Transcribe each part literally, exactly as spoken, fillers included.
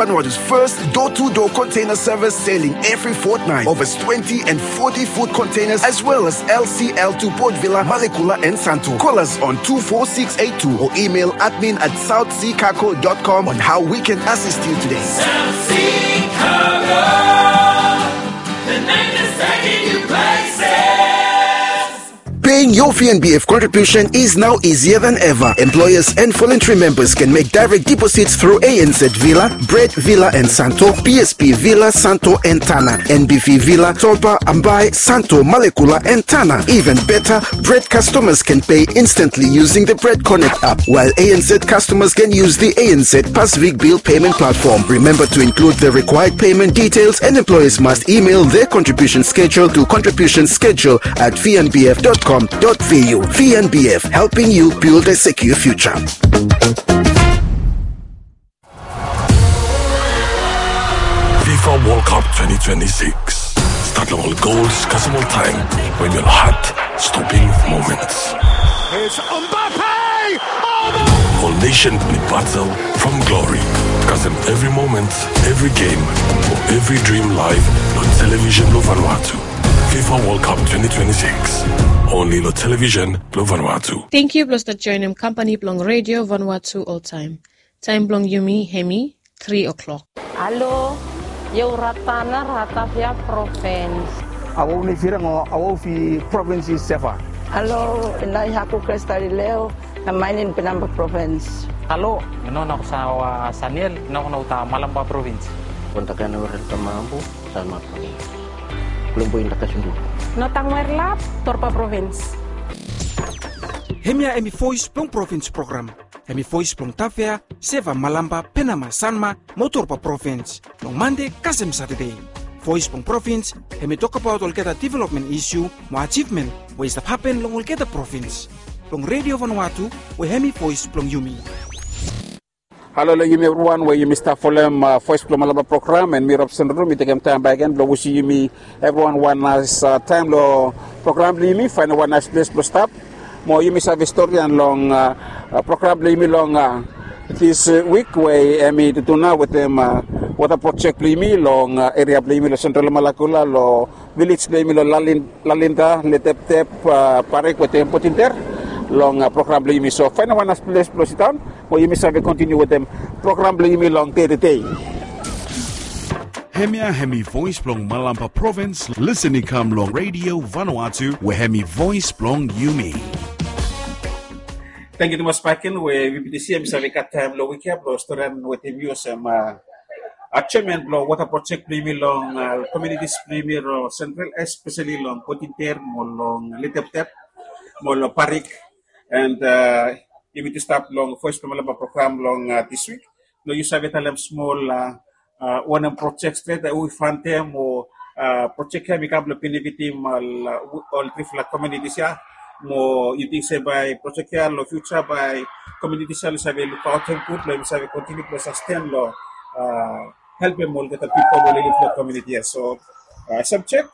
Vanuatu's first door-to-door container service, sailing every fortnight. Over twenty and forty foot containers, as well as L C L to Port Vila, Malekula and Santo. Call us on two four six eight two or email admin at south sea cargo dot com on how we can assist you today. South Sea Cargo, the name that's taking you places. Paying your V N B F contribution is now easier than ever. Employers and voluntary members can make direct deposits through A N Z Vila, Bread Vila and Santo, B S P Vila, Santo and Tana, N B V Vila, Topa, Ambae, Santo, Malekula and Tana. Even better, Bread customers can pay instantly using the Bread Connect app, while A N Z customers can use the A N Z Pacific Bill Payment Platform. Remember to include the required payment details, and employers must email their contribution schedule to contribution schedule at V N B F dot com dot V U. V N B F, helping you build a secure future. FIFA World Cup twenty twenty-six. Stat long ol gols kasem ol taem, wetem ol heart-stopping moments. It's Mbappe! Oh, no! Ol nation blong batel from glory. Kasem evri moment, evri game, mo evri dream live long television blong Vanuatu. FIFA World Cup twenty twenty-six. Only long television blong Vanuatu. Thank you blong stap joinem company blong Radio Vanuatu oltaem. Taem blong yumi hemi tri o'clock. Alo, io Ratana, Ratavia Province. Awau nei Firang o awau fi province i Seva. Alo, inai haku Kresta Lileo, na mainin Penamba Province. Alo, ino na ko sa wa Saniel, ino na ko ta Malamba Province. Kontakana warel ta Mambu, Salma Province. Kulumbu inda Kasundu. No tang werlap, Torpa Province. Hemia hemi voice blong province program. Hemi voice blong Tavea, Seva, Malamba, Penama, Sanma, mo Torpa Province. Long Mande kasem Satade. Voice blong province, hemi tokbaot olgeta development issue, mo achievement, we i stap hapen long olgeta province. Blong Radio Vanuatu, we hemi voice blong yumi. Halo long yumi evriwan we yumi stap folem, uh, voice blong Malamba program, and mi Robson Ruru, mi tekem taem bakegen blong wishim yumi evriwan wan naes, uh, taem long program blong yumi, faenem wan naes ples blong stap. Mo yumi save storian long, uh, uh, program blong yumi long, uh, this, uh, week we, uh, hemi tutu nao wetem, uh, water project blong yumi long, uh, eria blong yumi long Central Malakula, long village blong yumi long Lalin-, Lalinda, Leteptep, uh, Parik wetem Potinter long, uh, program blong yumi. So faenem wan naes ples blong sidaon, mo yumi save kontiniu wetem program blong yumi long dei tede. Hemia hemi voice blong Malamba Province, lisin i kam long Radio Vanuatu, we hemi voice blong yumi. Tangkiu tumas bakegen we V P T C hemi save gat taem long wik ia blong storian wetem yu olsem, uh, uh, chairman blong water project blong yumi long, uh, communities blong yumi long Central, especially long Potinter mo long Leteptep mo long Parik. And, uh, yumi tu stap long voice blong Malamba program long, uh, this week. Long yu save talem smol, uh, uh, wanem project stret, uh, we i fantem o, uh, project ia hemi kam blong benefitim ol, uh, ol trifala communities ia. Mo yu ting se bae project ia long future bae communities ia oli save lukaotem gud blong hemi save kontiniu blong sasten long, uh, helpem olgeta pipol we oli liv long community ia. So, uh, subject,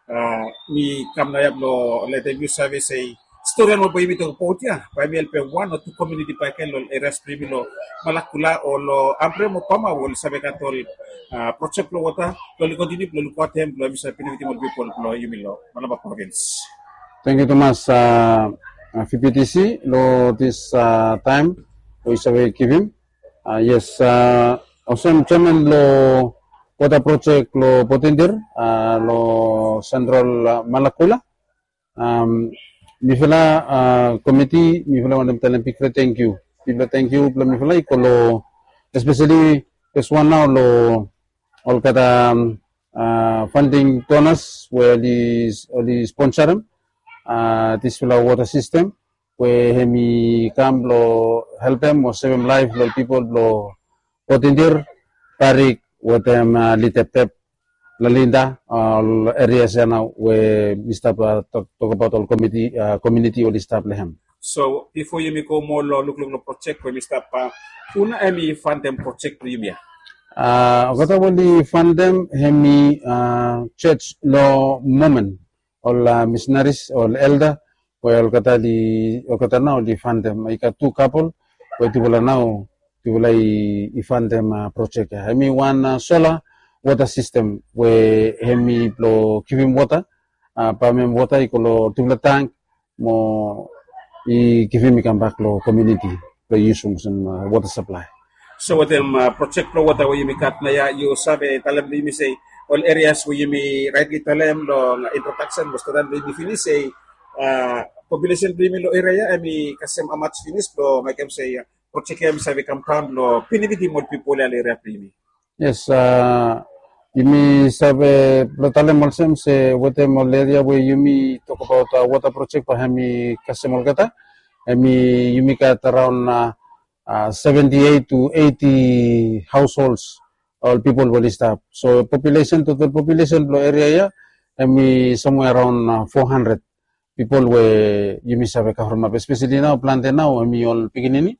uh, mi kam naoia blong letem yu save se storian we bae yumi tokbaot ia bae hemi helpem wan o tu community bakegen long ol areas blong yumi long Malakula o long Ambre mo Pama we oli save gat ol, uh, project blong water blong oli kontiniu blong lukaotem blong hemi save benefitim ol pipol blong yumi long Malamba Province. Tangkiu tumas, uh, uh, V P T C long this, uh, taem we yu save givim. Uh, yes, uh, olsem chairman long water project long Potinter, uh, long Central, uh, Malakula. Um, mifala, uh, komiti, mifala wantem talem bigfala tangkiu. Bigfala tangkiu blong mifala i go long, especially this one nao long olgeta, um, uh, funding donors we oli, oli sponsorem, uh, disfala water system we hemi kam blong helpem o sevem laef blong pipol blong Potinter, Parik wetem, uh, Leteptep, Lalinda, uh, ol areas ia nao we mi stap, uh, tok, tokbaot ol komiti, uh, community oli stap long hem. So bifo yumi go moa long lukluk long project we mi stap, uh, hu nao hemi fantem project blong yumi ia? Uh, olgeta we oli fantem hemi, uh, church long Mormon, ol, uh, missionaries, ol elder, we olgeta oli, olgeta nao oli fantem. I gat tu kapol we tufala nao tufala i, i fandem projek ya. Hemi wan sola wota sistem we hemi blong givim wota, pamem wota i go long tufala tank mo i givim i kambak long komuniti blong i yusum olsem wota saplai. So wetem projek blong wota we yumi gat naoia, yu save talem long yumi se ol erias we yumi raetli talem long introdaksen we stadan blong yumi finis se populesen blong yumi long eria ya hemi kasem amats finis blong mekem se projek ya hemi save kamdaon long benefit ol pipol ya long eria blong yumi? Yes, yumi save blong talem olsem se wetem ol eria we yumi tokbaot wota projek bae hemi kasem olgeta, hemi yumi gat araon seventy eight to eighty households, ol pipol we oli stap. So populesen, total populesen blong eria ya hemi somewhere around four hundred pipol we yumi save kavremap, espeseli nao plante nao hemi ol pikinini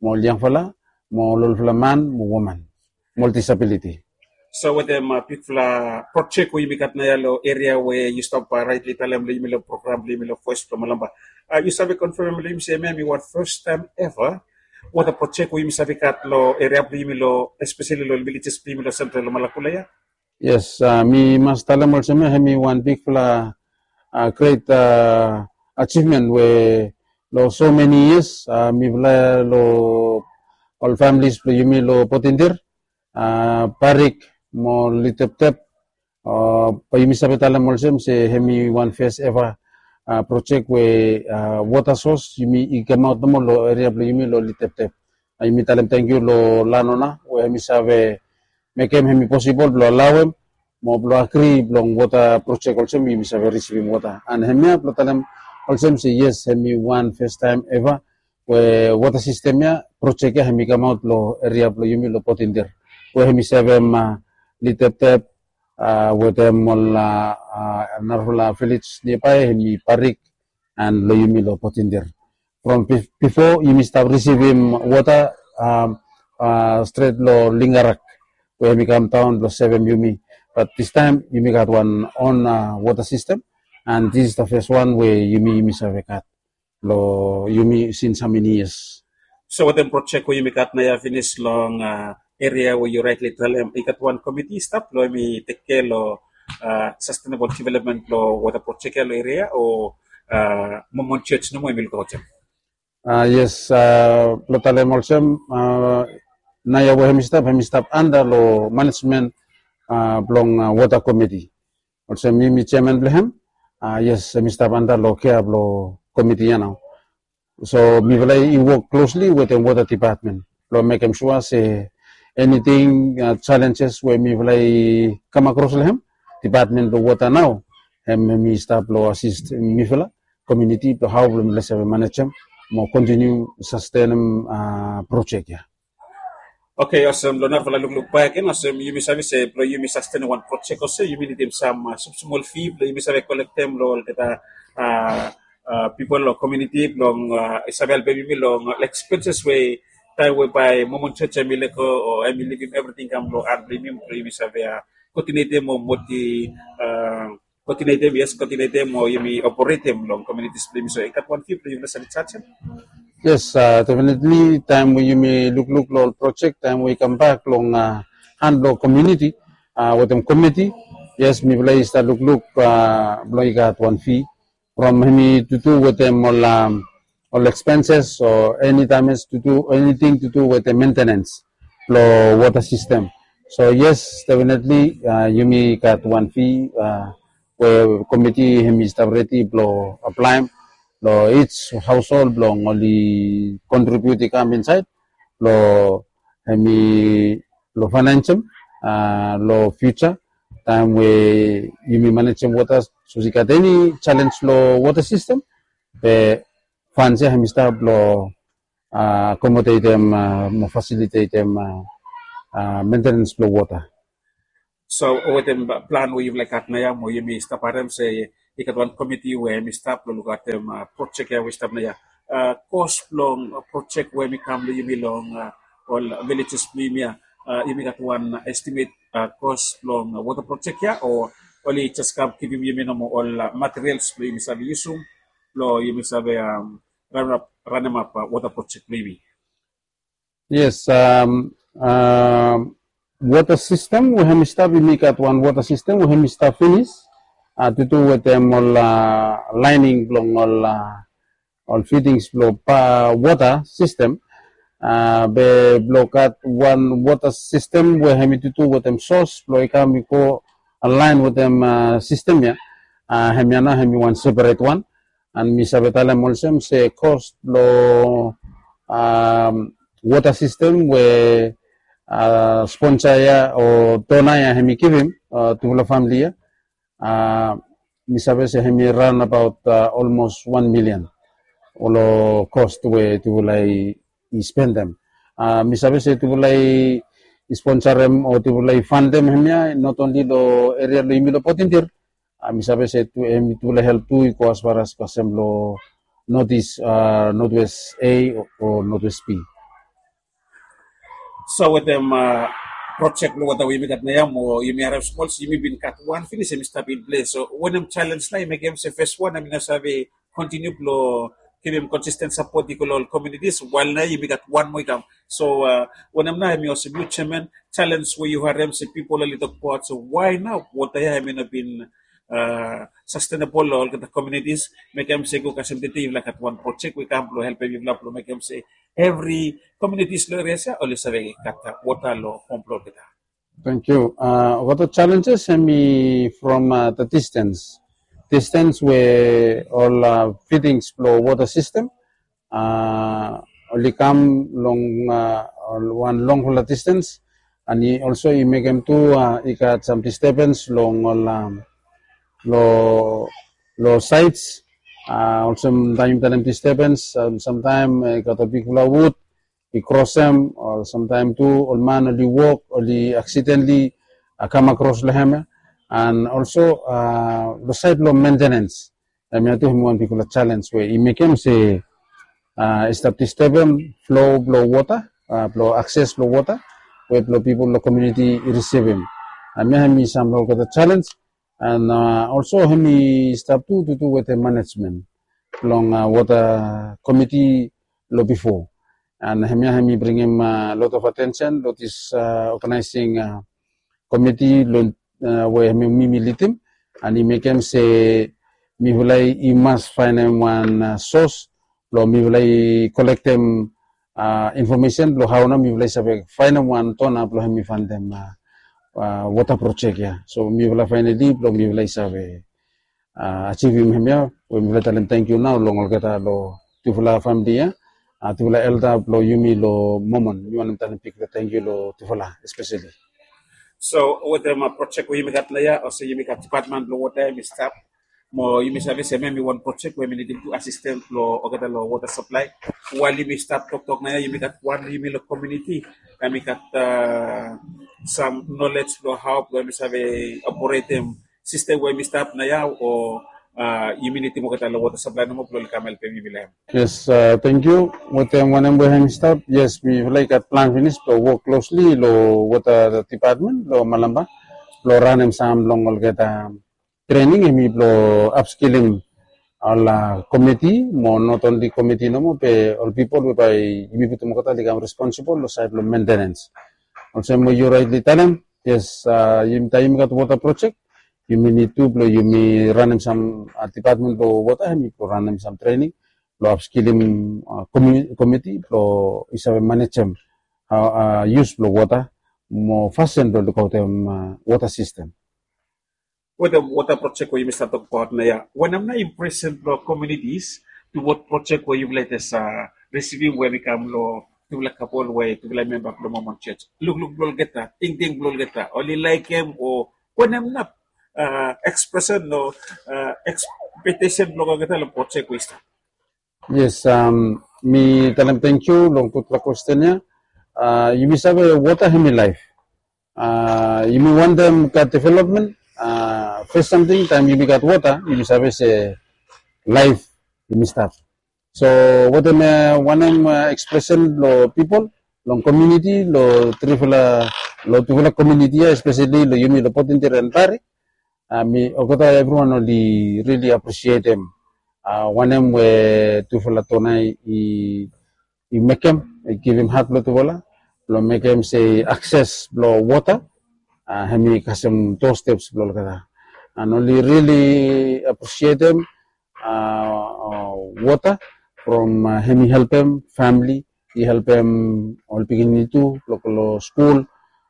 mo ol yangfala mo ol olfala man mo woman mo ol disabiliti. So wetem bigfala projek we yumi gat naoia long eria we yu stap raetli talem long yumi long program blong yumi long Voes blong Malampa, yu save konfemem long yumi se hemia hemi wan fastaem eva wota projek we yumi save gat long eria blong yumi long, espeseli long vilejes blong yumi long sentral long Malakula ya? Yes, mi mas talem olsem ya hemi wan bigfala gret ajivmen we long so meni yias mifala long ol familis blong yumi long Potindir, Parik mo Liteptep, bae yumi save talem olsem se hemi wan fes eva projek we wota sos yumi i kamaot nomo long eria blong yumi long Liteptep. Yumi talem tangkiu long lanona we hemi save mekem hemi posibol blong alaoem mo blong agri blong wota projek olsem yumi save risivim wota. And hemia blong talem olsem se yes, hemi wan fastaem eva we wota sistem ya, projek ya hemi kamaot long eria blong yumi long Potindir we hemi sevem Liteptep wetem ol narafala vilej niabae hemi Parik and long yumi long Potindir. From bifo yumi stap risivim wota stret long Lingarak we hemi kamdaon blong sevem yumi. Bat distaem yumi gat wan on wota sistem, and this is the first one we yumi, yumi save gat long yumi since how many years. So wetem projek we yumi gat naoia finis long eria we yu raetli talem, i gat wan komiti i stap blong hemi tekkea long sustainable development blong wota projek ya long eria, o Momon Jos nomo hemi lukaotem? Yes, blong talem olsem, naoia we hemi stap, hemi stap anda long manejmen blong wota komiti. Olsem mi, mi jeaman blong hem. Yes, hemi stap anda long kea blong komiti ya nao. So mifala i wok klosli wetem wota dipatmen blong mekem sua se eniting, jalenjes we mifala i kamakros long hem, dipatmen blong wota nao hem, hemi stap blong asis mifala komuniti blong hao blong mifala save manejem mo kontiniu sastenem projek ya. Oke, olsem long narafala lukluk bakegen, olsem yumi save se blong yumi sastenem wan projek olsem yumi nidim sam smosmol fi blong yumi save kolektem long olgeta pipol long komuniti blong i save helpem yumi long ol ekspenses we taem we bae Momon Jos hemi lego o hemi livim evriting i kam long han blong yumi, blong yumi save kotinetem o moti kotinetem, yes, kotinetem o yumi operetem long komunitis blong yumi. So i gat wan fi blong yumi save jajem? Yes, definitli taem we yumi lukluk long ol projek taem we i kambak long han blong komuniti wetem komiti, yes, mifala i stap lukluk blong i gat wan fi from hemi tutu wetem ol ol ekspenses o eni dames tutu, eniting tutu wetem mentenens blong wota sistem. So yes, definitli yumi gat wan fi we komiti hemi stap redi blong aplaem long each household blong oli kontribiut i kam insaed blong hemi, blong faenaensem long fiuja taem we yumi manejem wota, sapos i gat eni jalens long wota sistem, be fans ya hemi stap blong akomodetem mo fasilitetem mentenens blong wota. So wetem plan we yufala i gat naoia mo yumi stap harem se i gat wan komiti we hemi stap blong lukaotem projek ya we i stap naoia. Kos blong projek we hemi kam long yumi long ol vilejes blong yumi ya, yumi gat wan estimet kos blong wota projek ya, o oli jes kam givim yumi nomo ol materials blong yumi save yusum blong yumi save ranemap wota projek blong yumi? Yes, um, um, water system we hemi stap, yumi gat wan water system we hemi stap finis. Uh, tutu wetem ol uh, lining blong ol uh, ol fittings blong pa water system. Uh, be blong gat wan water system we hemi tutu wetem source blong i kam i go align wetem uh, system ya. Uh, hemia nao hemi wan separate wan. And mi save talem olsem se cost blong um, water system we uh, sponsor ya o donor ya hemi givim uh, tufala family ya. Uh, mi save se hemi run about uh, almost one million. Olo cost we tufala i spendem. Uh, mi save se tufala i sponsorem o tufala i fundem hemia not only lo area lo yumi lo Pothintur. Uh, mi save se tu hemi tufala help tu i go as far as kasem lo Northeast, uh, Northwest A o Northwest B. So wetem uh, project lo water we yumi gat naia mo yumi harem smol se yumi bin gat wan finis hemi stap in ples. So wanem challenge nao i mekem se first one hemi no save continue blo givim consistent support i go lo ol communities while nao yumi gat wan moa i kam. So uh, wanem nao hemi olsem yu chairman challenge we yu harem se pipol oli tokbaot se why nao water ya hemi no bin uh, sustainable lo olgeta communities mekem se go kasem tete yufala gat wan project we kam blo helpem yufala blo mekem se every communities lo areas ya oli save gat water lo home blo olgeta. Thank you. Uh, water challenges hemi from uh, the distance. Distance we ol uh, fittings blo water system uh, oli kam long uh, wan longfala distance. And i also i mekem tu uh, i gat some disturbance long ol um, lo lo sides. Uh, also taem yumi talem disturbance, um, sometimes uh, i gat a bigfala wood i crossem, o sometimes tu ol man oli wok oli accidentally uh, come across lo hem ya. And also uh, lo side lo maintenance, hemia tu hemi wan bigfala challenge we i mekem se uh, i stap disturbem flow blo water, uh, blo access blo water we blo pipol lo community i risivim. Hemia hemi sam lo olgeta challenge. And uh, also hemi stap tu tutu wetem management blong uh, water committee lo bifo. And hemia hemi bringim uh, lot of attention lo this uh, organizing uh, committee lo uh, we hemi mi mi lidim. And i mekem se mifala i mas faenem wan uh, source blo mifala i kolektem uh, information blo hao nao mifala i save faenem wan donor blo hemi fundem uh, uh, water project ya. So mifala finally blo mifala i save uh, achievim hemia we mifala talem thank you nao long olgeta lo tufala family ya. Uh, tufala elder blo yumi lo Mormon, mi wantem talem bigfala thank you lo tufala especially. So wetem uh, project we yumi gat naia, olsem yumi gat department blo water hemi stap. Mo yumi save se hemia hemi wan project we hemi nidim tu assistance lo olgeta lo water supply. While yumi stap toktok naia yumi gat wan yumi lo community hemi gat uh, some knowledge blo hao blo hemi save operatem system we hemi stap naia o uh, yumi nidim olgeta lo water supply nomo blo oli kam helpem yumi lo hem. Yes, uh, thank you. Wetem wanem we hemi stap, yes, mifala i gat plan finis blo wok closely lo water department lo Malampa blo ranem sam long olgeta training hemi blo upskillim ol uh, committee mo not only committee nomo be ol pipol we bae yumi putum olgeta oli kam responsible lo side blo maintenance. Olsem we yu rightly talem, yes, uh, yumi taem yumi gat water project yumi nid tu blo yumi ranem sam uh, department blo water hemi blo ranem sam training blo upskillim uh, committee blo i save manejem uh, use blo water mo fasin blo lukaotem uh, water system. Wetem water project we yumi stap tokbaot naia, wanem nao impression blo communities toward project we yufala i jes uh, risivim we hemi kam lo tufala kapol we tufala memba blo Mormon Church? Lukluk blo olgeta, tingting blo olgeta, oli laekem o wanem nao uh, expression o uh, expectation blo olgeta lo project we i stap? Yes, um, mi talem thank you long gudfala question ya. Uh, yumi save water hemi life. Uh, yumi wantem gat development, uh, first something taem yumi gat water yumi save se life yumi stap. So wetem uh, wanem uh, expression lo pipol long community lo trifala lo tufala community ya, especially lo yumi lo Pothintur and Barrie. Uh, mi olgeta everyone oli really appreciatem uh, wanem we tufala donor i i mekem, i givim hat blong tufala blong mekem se akses blong wota, a, hemi kasem doorsteps blong olgeta. And oli really appreciatem, a, a, wota from, a, hemi helpem famili, i helpem ol pikinini tu blong go long skul,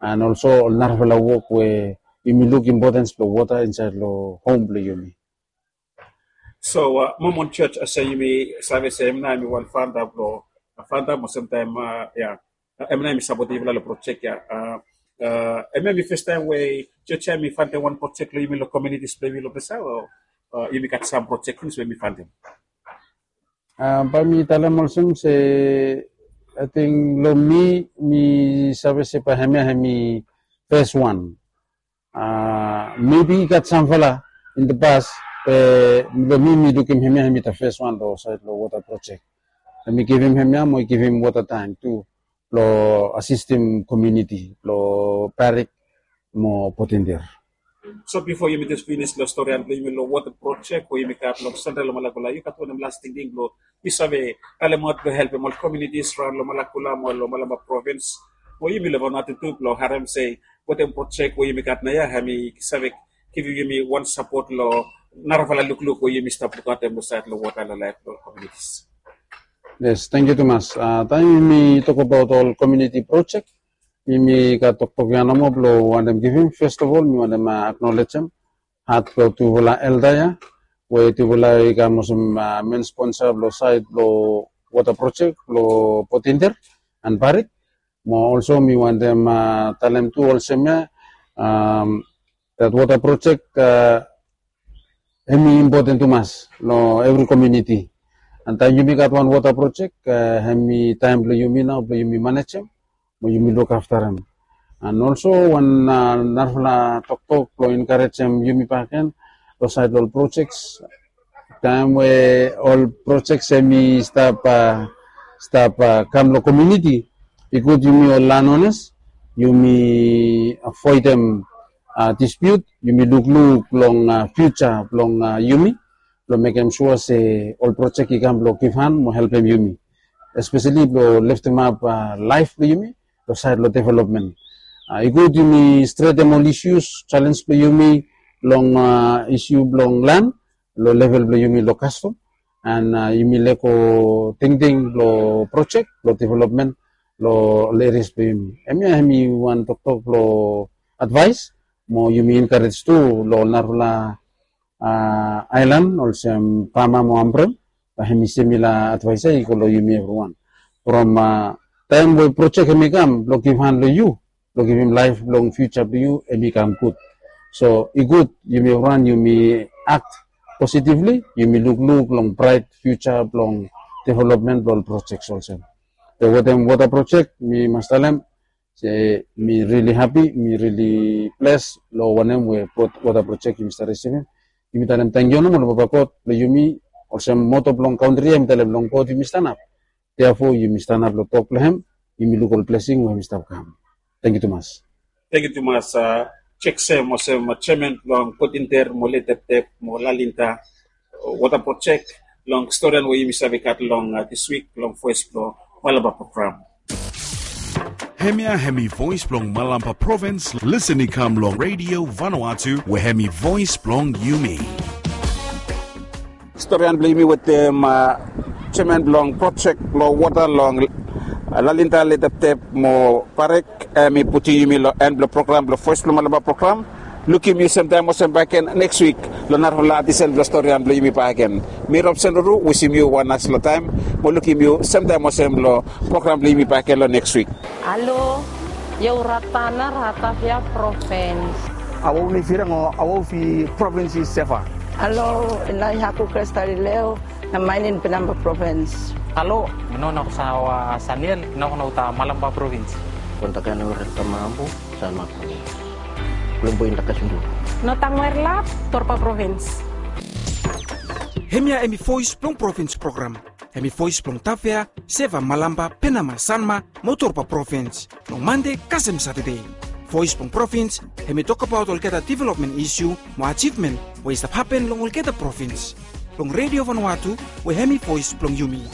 and also ol narafala wok we yumi luk importance blong wota insaed long hom blong yumi. So, a, Mormon Church, olsem yumi save se hemia nao hemi wan fanda blong, a, fanda mo olsem taem, a, ya, a, hemia nao hemi sapotem yufala long projek ya. A, a, hemia hemi fes taem we church ya hemi fandem wan projek long yumi long communities blong yumi long ples ya, o, a, yumi gat sam projek finish we yumi fandem? A, bae mi talem olsem se, ating long mi, mi save se bae hemia hemi fes wan. A, maybe i gat samfala in the past, be long mi, mi lukim hemia hemi the first one long saed long wota projek. Hemi givim hemia mo i givim wota tank tu blong asistem komuniti blong Parik mo Potinder. So bifo yumi jes finis long storian blong yumi long wota projek we yumi gat long Central Malakula, yu gat wanem las tingting blong yu save talemaot blong helpem ol komunitis raon long Malakula mo long Malampa provins, we yumi long Vanuatu tu blong harem se wetem projek we yumi gat naoia hemi save givim yumi wan sapot long narafala lukluk we yumi stap lukaotem long saed long wota long laef blong komunitis. Yes, tangkiu tumas. A, taem yumi tokbaot ol komuniti projek, yumi gat toktok ya nomo blong wantem givim. First of all, mi wantem, a, acknowledgem hat blong tufala elda ya we tufala i kam olsem, a, main sponsor blong saed blong wota projek blong Potinder and Parik. Mo also mi wantem, a, talem tu olsem ya, am, that wota projek, a, hemi impoten tumas long evri komuniti. And taem yumi gat wan wota projek, a, hemi taem blong yumi nao blong yumi manejem mo yumi lukaftarem. And also wan, a, narafala toktok blong enkarejem yumi bakegen long saed long ol projek. Taem we ol projek hemi stap, a, stap, a, kam long komuniti, i gud yumi ol landowners yumi avoedem, a, dispute, yumi lukluk long, a, future blong, a, yumi, blong mekem sua se ol projek i kam blong givhan mo helpem yumi, especially blong leftemap, a, laef blong yumi long saed long developmen. A, i gud yumi stretem ol issues, challenge blong yumi long, a, issue blong land long level blong yumi long kastom, and, a, yumi lego tingting long projek blong developmen long ol areas blong yumi. Hemia hemi wan toktok blong advaes mo yumi enkarej tu long ol narafala, a, aelan olsem Bama mo Ambrym, bae hemi similar advaes ya i go long yumi evriwan. From, a, taem we projek hemi kam blong givhan long yu, blong givim laef blong future blong yu, hemi kam gud. So i gud yumi evriwan yumi act positively, yumi lukluk long bright future blong developmen blong ol projek olsem. Be wetem wota projek, mi mas talem se mi really happy, mi really bless long wanem we wota projek yumi stap risivim. Yumi talem tangkiu nomo long Papa God blong yumi, olsem moto blong kantri ya hemi talem long God yumi stanap. Therefore yumi stanap long tok blong hem, yumi luk ol blesing we hemi stap kam. Tangkiu tumas. Tangkiu tumas, a, Jackson, olsem, a, jeaman blong Potinder mo Leteptep mo Lalinta wota projek, long storian we yumi save gat long, a, dis wik long voes blong Malampa program. Hemia hemi voes blong Malampa provins, listen i kam long Radio Vanuatu we hemi voes blong yumi. Storian blong yumi wetem, a, jeaman blong projek blong wota long, a, Lalinta, Leteptep mo Parik, hemi putum yumi long en blong program blong voes blong Malampa program. Lukim yu semtaem olsem bakegen neks wik long narafala adisel blong storian blong yumi bakegen. Mi Robson Ruru, wisim yu wan naesfala taem mo lukim yu semtaem olsem long program blong yumi bakegen long neks wik. Halo, Yehuratana Ratavia provins. Awo mi firang o awo fi provins i seva. Halo, inai haku Kristalileo, na mainin Penamba provins. Halo, mi no na kusawa Saniel, na kuno uta Malampa provins. Kontakan ora tamambu, Salma provins. Kulombo inda kasundu. No tangwer lap, Torpa provins. Hemia hemi voes blong provins program. Hemi voes blong Tafea, Seva, Malampa, Penama, Sanma mo Torpa provins, long Mande kasem Satade. Voes blong provins hemi tokbaot olgeta developmen isu mo ajivmen we i stap hapen long olgeta provins, long Radio Vanuatu we hemi voes blong yumi.